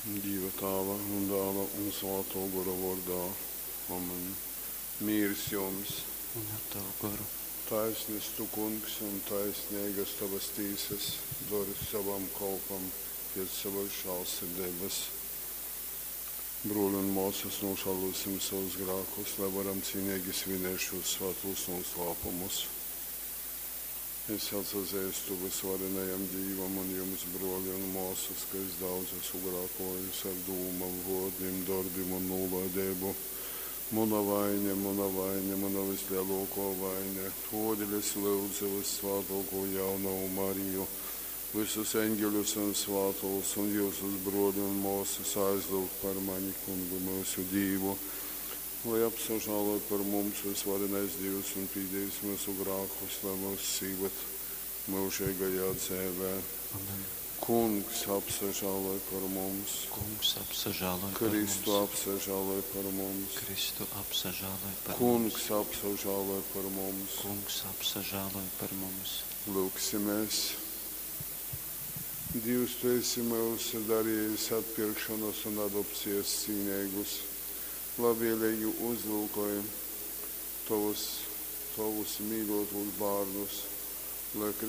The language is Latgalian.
Dīva Tāva un Dāla un Svātō Gora vōrdā. Amen. Mīrs jums! Un ar tavu goru. Taisnis tu, Kungs, un taisneigas tovas tīsas, dori sovam kolpam pēc sovas žālsirdeibas. Brōli un mōsas, nožālosim savus grākus, lai varam cīnīgi svinēt šos svētos noslēpumus. Es atsazeistu vysvarenajam Dīvam un jums, brōli un mōsas, ka es daudz esmu grākōjis ar dūmom, vōrdim, dorbim un nūlaideibu. Muna vaine, muna vaine, muna vislielākā vaine. Tōdēļ es lūdzu vyssvātōkū jaunovu Mariju, visus eņģeļus un svātōs un jyusus, brōli un mōsas, aizlyugt par mani Kungu myusu Dīvu, lai apsažāloj par mums vysvarenais Dīvs un pīdīs myusu grākus, lai myus īvad myužeigajā dzeivē. Amen. Kungs apsažāloj par mums. Kungs apsažāloj par Kristu mums. apsažāloj par mums. Kristu apsažāloj par Kungs mums. apsažāloj par mums. Kungs apsažāloj par mums. Lūgsimies. Dievs, tu esi mūs darījis atpirkšanas un adopcijas cīnīgus. Labvēlīgi uzlūkoj tovus, tovus mīļotos bērnus, lai.